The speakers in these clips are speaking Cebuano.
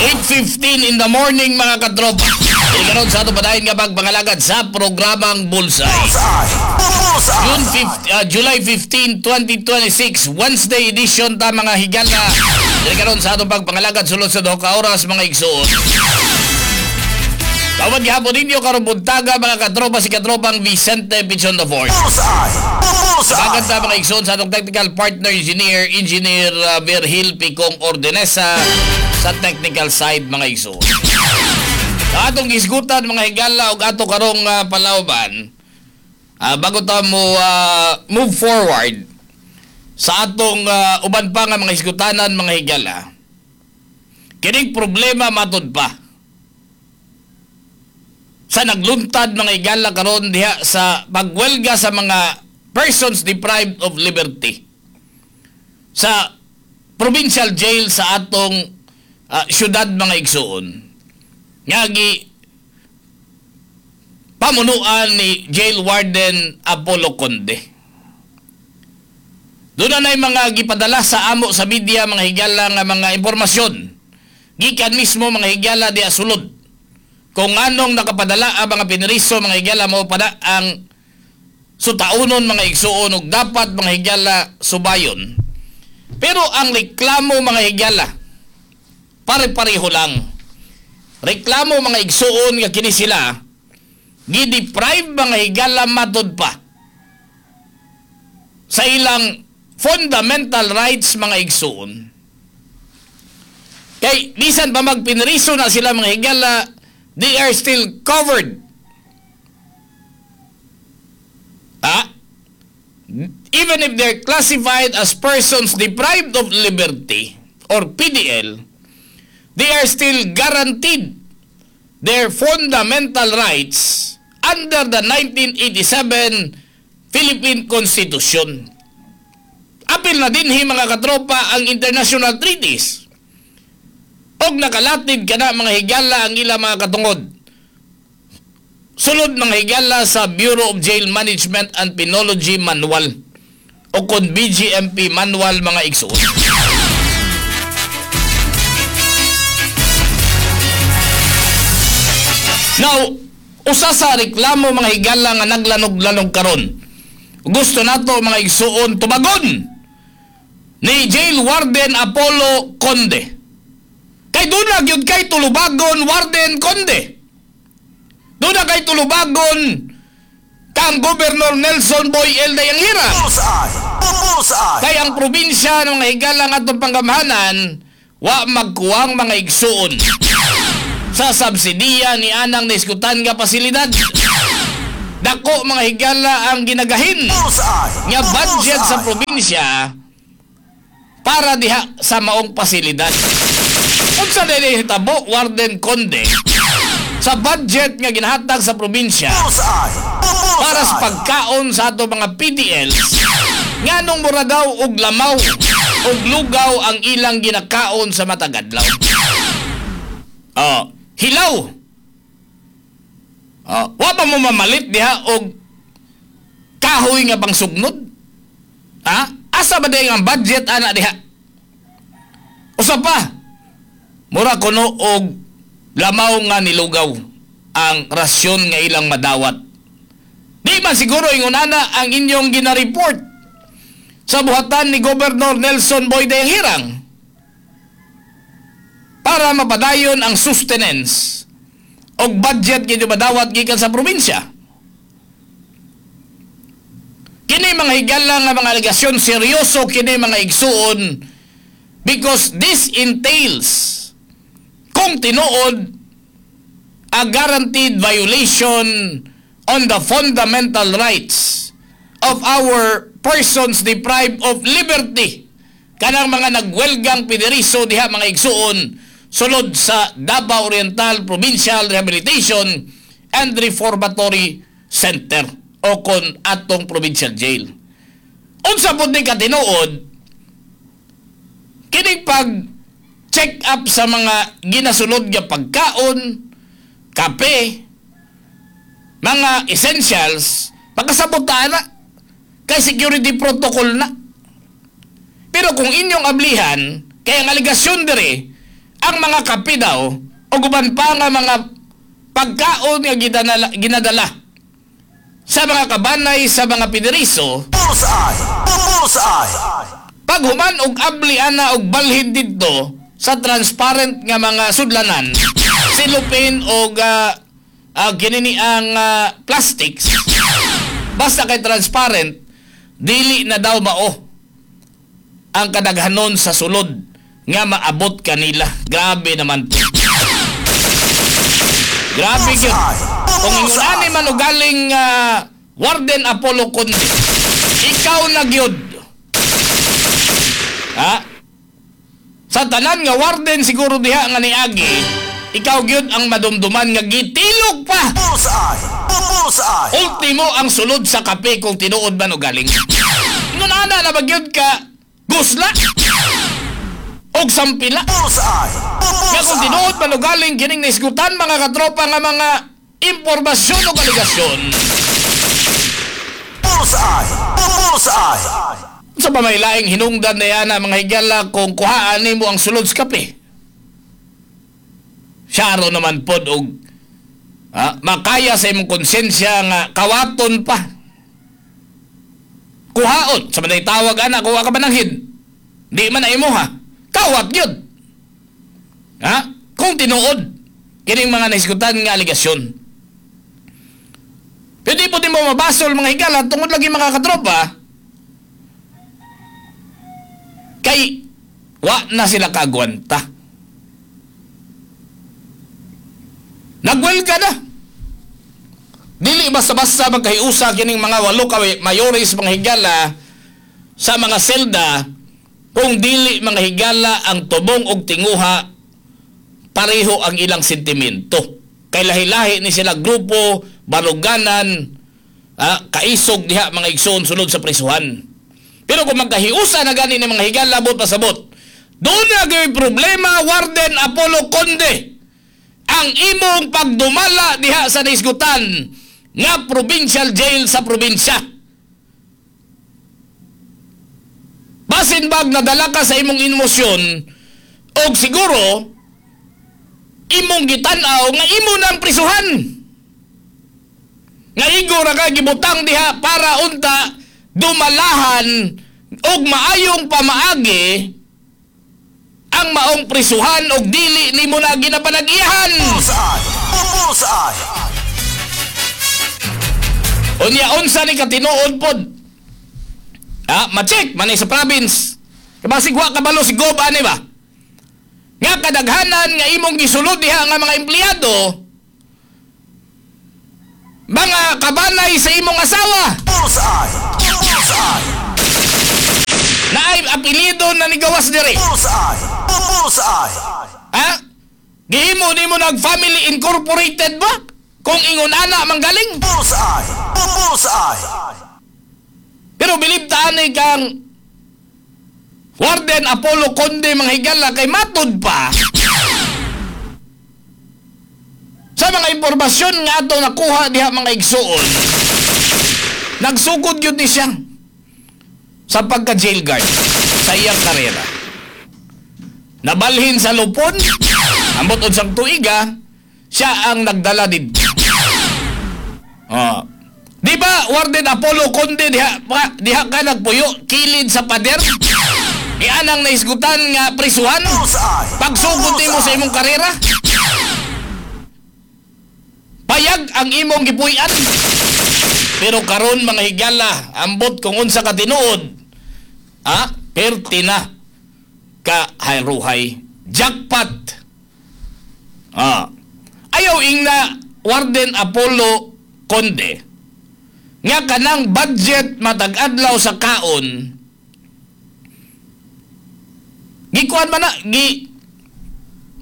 8:15 in the morning, mga katropa. Dili karon sa ato padayon nga pagpangalagad sa programang Bullseye. Bullseye! Bullseye! June 5, July 15, 2026, Wednesday edition ta, mga higala. Dili karon sa atong pagpangalagad sulod sa 2 ka oras, mga igsoon. Tawad gihapon ninyo karong buntaga, mga katropa, si katropang Vicente Pichon the Fourth. Bullseye! Bullseye! Maganda, mga igsoon, sa atong technical partner engineer, Engineer Virgil Picong Ordenesa sa technical side, mga igsoon. Sa atong gisgutan, mga higala, ug ato karong palawban, bago ta mo move forward sa atong uban pa nga mga hisgutanan, mga higala, kining problema matud pa sa nagluntad, mga higala, karon diha sa pagwelga sa mga persons deprived of liberty sa provincial jail sa atong syudad, mga igsuon, nga gi pamunuan ni Jail Warden Apollo Conde. Doon na mga gipadala sa amo sa media, mga higala, nga mga impormasyon gikan mismo, mga higala, diha sulod. Kung anong nakapadala ang mga pineriso, mga higala, mo pada ang sutaunon, mga igsuon, ug dapat, mga higala, subayon. Pero ang reklamo, mga higala, pare-pareho lang. Reklamo, mga igsuon, nga kini sila gi-deprive, mga higala, matud pa sa ilang fundamental rights, mga igsuon. Kay bisan pa magpinriso na sila, mga higala, they are still covered. Ah? Even if they're classified as persons deprived of liberty or PDL, they are still guaranteed their fundamental rights under the 1987 Philippine Constitution. Apil na dinhi, mga katropa, ang international treaties. Og nakalatid kana, mga higala, ang ilang mga katungod. Sulod, mga higala, sa Bureau of Jail Management and Penology Manual o kon BJMP Manual, mga igsoon. Now, usa sa reklamo, mga higala, nga naglanog-lanog karon. Gusto nato, mga igsuon, tubagon ni Jail Warden Apollo Conde. Kay duna gyud kay tulubagon, Warden Conde. Duna kay tulubagon kang Governor Nelson Boy L. Dayanghirang. Bullseye! Bullseye! Kay ang probinsya ng mga higala nga atong panggamhanan wa magkuwang, mga igsuon, sa subsidiya ni anang naiskutan nga pasilidad. Dako, mga higala, ang ginagahin Bullseye! nga budget sa Bullseye! probinsya para diha sa maong pasilidad. Unsa dili hitabo, Warden Conde, sa budget nga ginahatag sa probinsya Bullseye! para sa Bullseye! pagkaon sa ato mga PDLs, nganong mura daw og lamaw og lugaw ang ilang ginakaon sa matag adlaw? Oh, hilaw. Oh, wa pa mo mamalit diha og kahoy nga pangsugnod? Ha? Asa ba diay ang budget ana diha? Usa pa, mura kuno og lamaw nga nilugaw ang rasyon nga ilang madawat. Di man siguro ingon ana ang inyong gina-report sa buhatan ni Governor Nelson Boy Dayanghirang para mapadayon ang sustenance og budget kinyo madawat gikan sa probinsya. Kini, mga higala, nga mga alegasyon, seryoso kini, mga igsuon, because this entails, kung tinuod, a guaranteed violation on the fundamental rights of our persons deprived of liberty, kanang mga nagwelgang pineriso diha, mga igsuon, sulod sa Davao Oriental Provincial Rehabilitation and Reformatory Center o kon atong provincial jail. Unsa pud ni katinuod kining pag check up sa mga ginasulod nga pagkaon, kape, mga essentials, pagkasabot ta na kay security protocol na? Pero kung inyong ablihan, kay ang alegasyon dire, Ang mga kape daw o uban pa nga mga pagkaon nga ginadala sa mga kabanay sa mga piniriso, Bullseye! Bullseye! Paghuman og abli ana og balhin didto sa transparent nga mga sudlanan, cellophane og ginini ang plastics, basta kay transparent, dili na daw mao ang kadaghanon sa sulod nga maabot kanila. Grabe naman po. Grabe gyud. Kung ingon ani man og galing, Warden Apollo Conde, ikaw na gyud. Ha? Sa tanan nga warden siguro diha nga niagi, ikaw gyud ang madumduman nga gitilok pa. Bullseye! Bullseye! Ultimo ang sulod sa kape, kung tinuod man og galing. Ingon ana na ba gyud ka gusla? Og sampila? Bullseye! Nga kung Bullseye! tinuod man og galing kining naisgutan, mga katropa, nga mga impormasyon o alegasyon, Bullseye! Bullseye! Sa pamaylaing hinungdan na yan mga higala kung kuhaan nimo ang sulod sa kape? Syaro naman pod og makaya sa imong konsensya nga kawaton pa. Kuhaon. Sa manay tawag ana, kuha ka mananghid. Di man na imo ha. Kawat yun. Ha? Kung tinuod kining mga naisgutan nga alegasyon. Pero di po din mo mabasol, mga higala, tungod lagi, mga katropa, kay wa na sila kagwanta. Nagwelga na. Dili basta-basta magkahiusa kining mga walo ka mayores, mga higala, sa mga selda kung dili, mga higala, ang tubong og tinguha pareho ang ilang sentimento. Kay lahi-lahi ni sila grupo, baruganan, kaisog diha, mga igsoon, sulod sa prisuhan. Pero kung magkahiusa na gani ni, mga higala, labot pasabot, doon na gyud problema, Warden Apollo Conde, ang imong pagdumala diha sa naisgutan nga provincial jail sa probinsya. Basin bag nadala ka sa imong emosyon og siguro imong gitan-aw nga imo nang prisuhan. Nga igo ra ka gibutang diha para unta dumalahan og maayong pamaagi ang maong prisuhan og dili nimo na ginapanag-iyahan. Bullseye! Bullseye! Unya unsa ni katinuod pod? Ma-check man ni sa province. Kabasig wa kabalo si Gob ani ba? Nga kadaghanan nga imong gisulod diha nga mga empleyado, mga kabanay sa imong asawa. Bullseye! Bullseye! Naay apelyido na nigawas diri. Bullseye! Bullseye! Ha? Gihimo nimo nag family incorporated ba? Kung ingon ana manggaling. Bullseye! Bullseye! Pero bilib ta ani kang Warden Apollo Conde, mga higala, kay matud pa sa mga impormasyon nga ato nakuha diha, mga igsuon, nagsugod yun ni siya sa pagka jail guard sa iyang karera. Nabalhin sa lupon, ambot unsang tuiga, siya ang nagdala didto. Oh. Di ba, Warden Apollo Conde, diha ka nagpuyo, kilid sa pader? Ianang naisgutan nga prisuhan? Bullseye! Pagsugod nimo sa imong karera? Payag ang imong gipuy-an. Pero karon, mga higala, ambot kung unsa ka tinuod, perti na ka hayruhay. Jackpot. Ayaw ingna, Warden Apollo Conde, nga kanang budget matag adlaw sa kaon gikuan man na, gi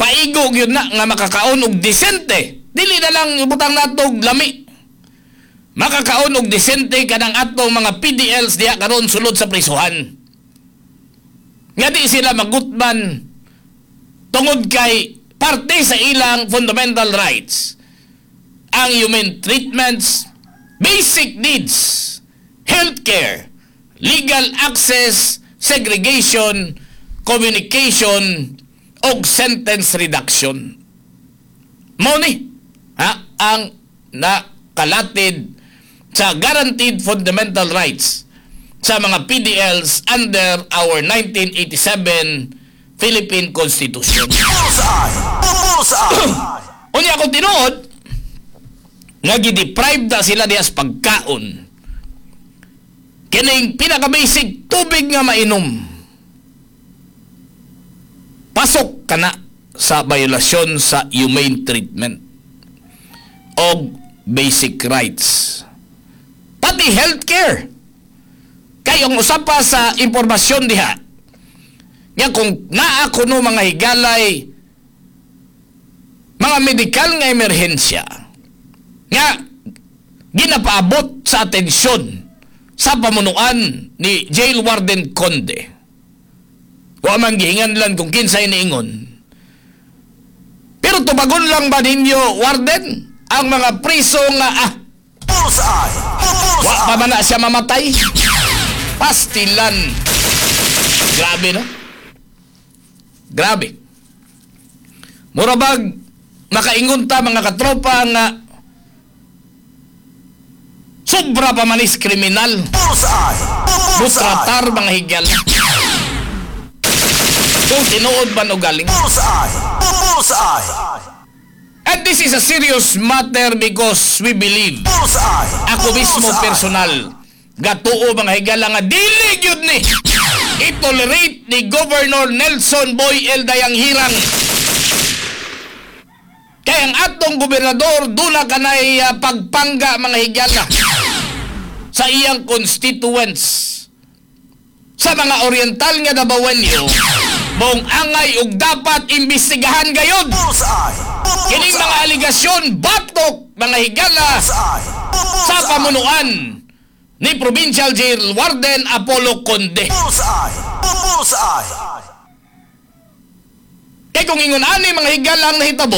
paigo gyud na nga makakaon og disente. Dili na lang ibutang nato og lami, makakaon og disente kanang atong mga PDLs diha karon sulod sa prisuhan, nga di sila magutman tungod kay parte sa ilang fundamental rights ang human treatments, basic needs, healthcare, legal access, segregation, communication, Og sentence reduction. Mao ni ha, ang nakalatid sa guaranteed fundamental rights sa mga PDLs under our 1987 Philippine Constitution. Bullseye! Bullseye! Unya kung tinuod nga gi-deprive na sila diha sa pagkaon, kining pinaka-basic tubig nga mainom, pasok kana sa violasyon sa humane treatment og basic rights, pati healthcare. Kay ang usa pa sa impormasyon diha nga kung naa kuno, mga higalay, mga medikal nga emerhensya nga ginapaabot sa atensyon sa pamunuan ni Jail Warden Conde. Wa man gihinganlan kung kinsay niingon. Pero tubagon lang ba ninyo, Warden, ang mga priso nga Bullseye! wa pa Bullseye! man na siya mamatay? Pastilan. Grabe, no? Grabe. Mura bag makaingon ta, mga katropa, nga sobra pa manis kriminal. Bullseye! Bullseye! Mutratar, mga higala. Kung tinuod man o galing. Bullseye! Bullseye! And this is a serious matter because we believe, Bullseye! ako mismo Bullseye! personal, gatuo, mga higala, nga dili gyud ni i-tolerate ni Governor Nelson Boy L. Dayanghirang. Kay ang atong gobernador duna kanay pagpangga, mga higala, sa iyang constituents sa mga Oriental nga Dabawenyo, mong angay ug dapat imbestigahan gayud Bullseye! kining mga alegasyon batok, mga higala, Bullseye! sa pamunuan ni Provincial Jail Warden Apollo Conde. Bullseye! Bullseye! Kay kung ingon ani, mga higala, ang nahitabo,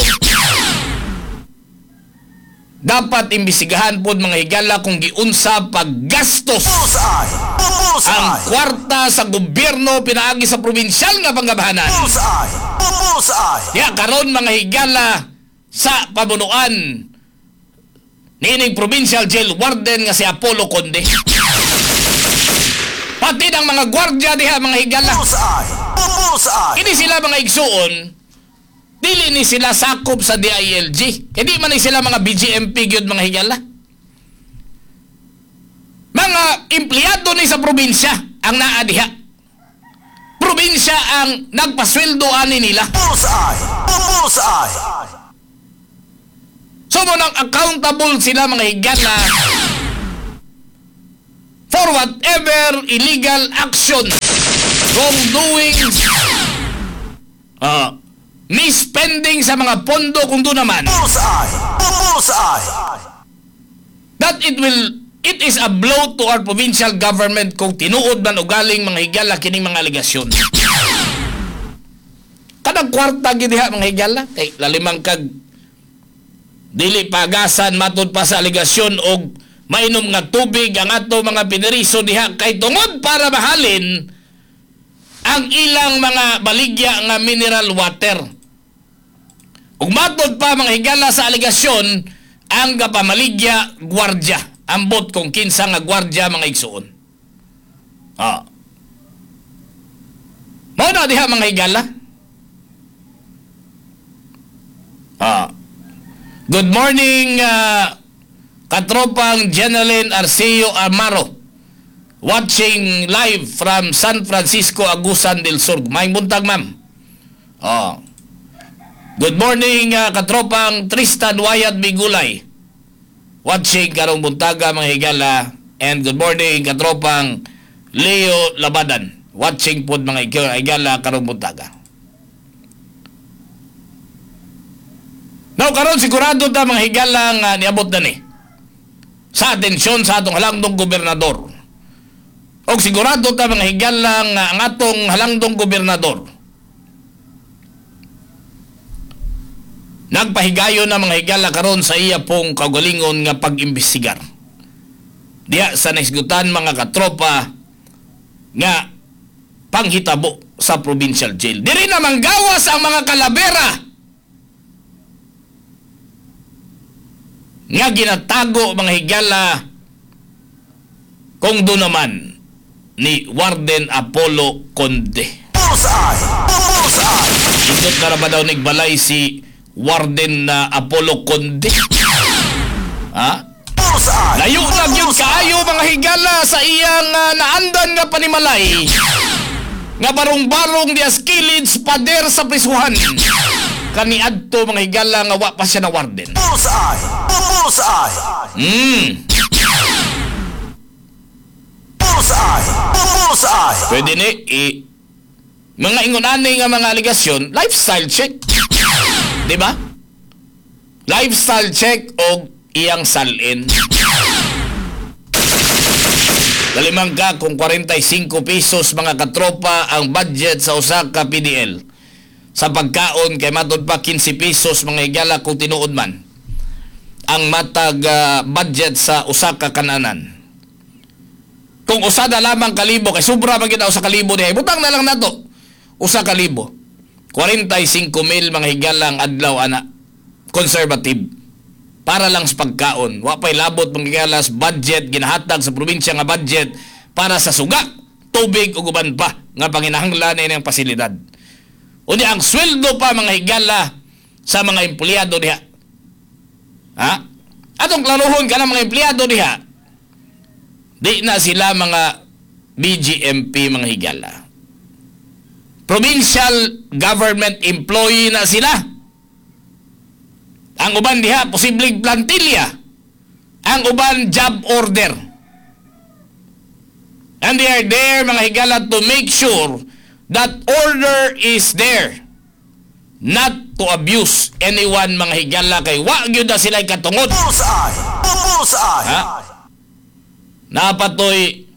dapat imbestigahan pod, mga higala, kung giunsa paggastos Bullseye! ang Bullseye! kwarta sa gobyerno pinaagi sa probinsyal nga panggabahanan. Bullseye! Bullseye! Ya karon, mga higala, sa pamunuan niining Provincial Jail Warden nga si Apollo Conde. Pati ng mga gwardya diha, mga higala. Bullseye! Bullseye! Kini sila, mga igsuon, dili ni sila sakop sa DILG. Hindi man ni sila mga BJMP gyud, mga higala. Mga empleyado ni sa probinsya ang naa diha. Probinsya ang nagpasweldo ani nila. Bullseye! Bullseye! So mo nang accountable sila, mga higala, for whatever illegal action, wrongdoings, misspending sa mga pondo kung doon naman, Bullseye! Bullseye! that it is a blow to our provincial government kung tinuod man o galing, mga higala, kining mga alegasyon. Kanang kwarta gid diha, mga higala, kay lalimang kag dili pagasan, matud pa sa alegasyon, og mainom nga tubig ang ato mga pineriso diha kay tungod para mahalin ang ilang mga baligya nga mineral water. Ug matod pa, mga higala, sa alegasyon, ang gapamaligya gwardya. Ambot kung kinsa nga gwardya, mga igsuon. Mao na diha, mga higala. Good morning, katropang Jeneline Arceo Amaro. Watching live from San Francisco, Agusan del Sur. Maayong buntag, ma'am. Oh. Good morning, katropang Tristan Wayat Bigulay. Watching karong buntaga, mga higala. And good morning, katropang Leo Labadan. Watching pod, mga higala, karong buntaga. Now karon sigurado ta, mga higala, nga niabot na ni sa atensyon sa atong halangdong gobernador. Og sigurado ta, mga higala, nga ang atong halangdong gobernador nagpahigayon na, mga higala, karon sa iya pong kaugalingon nga pag-imbestigar diha sa naisgutan, mga katropa, nga panghitabo sa provincial jail. Diri na manggawas ang mga kalabera nga ginatago, mga higala, kung doon naman ni Warden Apollo Conde. Bullseye! Bullseye! Indot na ra ba daw nigbalay si Warden na Apollo Conde? Ha? Bullseye! Layo na gyud kaayo, mga higala, sa iyang naandan nga panimalay nga barong-barong dias kilid sa pader sa prisuhan kaniadto, mga higala, nga wa pa siya na warden. Bullseye! Bullseye! Bullseye! Bullseye! Pwede ni mga ingon ani nga mga alegasyon, lifestyle check. Di ba? Lifestyle check og iyang salin. Dalimang ka kung 45 pesos, mga katropa, ang budget sa usa ka PDL. Sa pagkaon kay matod pa 15 pesos, mga higala, kung tinuod man ang matag budget sa usa ka kananan. Kung usa na lamang kalibo kay sobra man gyud usa ka libo diha, butang na lang nato 1,000. 45 mil, mga higala, ang adlaw ana, conservative, para lang sa pagkaon. Wa pay labot, mga higala, sa budget ginahatag sa probinsya nga budget para sa suga, tubig ug uban pa nga panginahanglan ini ang pasilidad. Unya ang sweldo pa, mga higala, sa mga empleyado diha. Ha? Atong klaruhon ka mga empleyado diha. Di na sila mga BGMP, mga higala. Provincial government employee na sila. Ang uban diha, posibleng plantilla. Ang uban, job order. And they are there, mga higala, to make sure that order is there. Not to abuse anyone, mga higala, kay wa gyud na sila katungod. Bullseye! Bullseye! Ha? Napatoy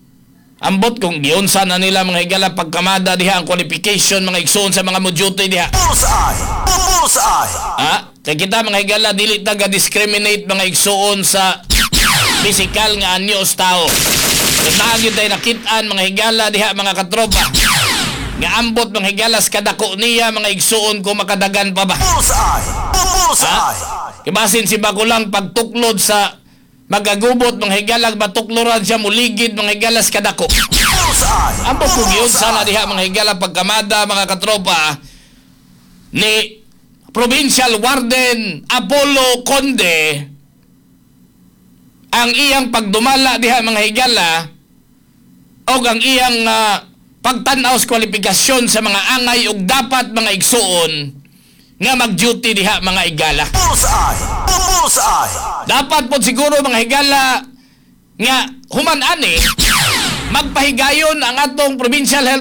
ambot kung giunsa na nila, mga higala, pagkamada diha ang qualification, mga igsoon, sa mga mo-duty diha. Bullseye! Bullseye! Ha? Kay kita, mga higala, dili ta discriminate, mga igsoon, sa physical nga anyo sa tao. Kung naa gyud tay nakit-an, mga higala, diha, mga katropa, nga ambot, mga higala, sa kadako niya, mga igsoon, kung makadagan pa ba. Bullseye! Bullseye! Kibasin si Bagulang pagtuklod sa magagubot, mga higala, matukloran siya muligid, mga higala, sa kadako. Bullseye! Ambot kung giunsa na diha, mga higala, pagkamada, mga katropa, ni Provincial Warden Apollo Conde ang iyang pagdumala diha, mga higala, o ang iyang pagtan-aw sa kwalifikasyon sa mga angay ug dapat, mga igsuon, nga mag-duty diha, mga higala. Bullseye! Bullseye! Dapat po siguro, mga higala, nga human ani magpahigayon ang atong provincial health